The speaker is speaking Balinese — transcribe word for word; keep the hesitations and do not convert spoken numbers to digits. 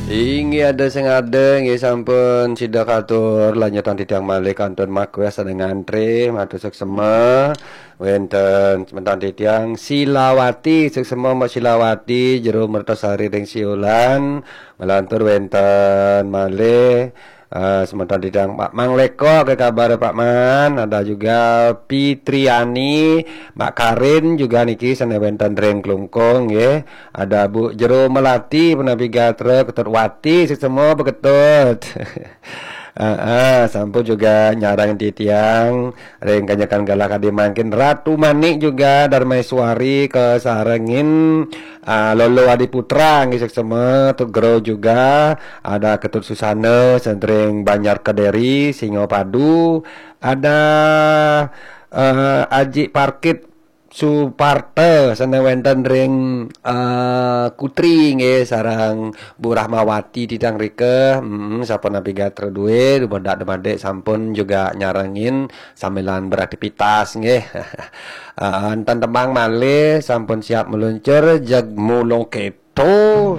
Inggih ada sing ada, inggih sampun sida katur lanjutan titiang malih kantun makwes ada ngantri, matur suksema. Wenten semeton titiang Silawati, suksema Mbak Silawati, Jero Mertasari ring Siulan, malantur wenten malih eh, semeton titiang Pak Mang Leko ke kabar Pak Man, ada juga Pitriani, Mbak Karin juga niki sane wenten ring Klungkung nggih. Ada Bu Jero Melati, Penabi Gatra, Ketut Wati, suksema Beketut. Heeh, sampun juga nyarang titiang ring kanyekan galah kadi mangkin Ratu Manik juga Darmaiswari kasarengin ah, Lolo Adi Putra nggih suksema, Tut Gero juga, ada Ketut Susana, Sentring Banjar Kediri, Singapadu, ada eh, Aji Parkit Suparta sane wenten ring eh, Kutri nggih sareng Bu Rahmawati titiang rika. Hmm, sapunapi gatra duwe, dumadak dumadik sampun juga nyarengin samilan beraktivitas nggih. Eh, enten tembang malih sampun siap meluncur, jeg mulung keto.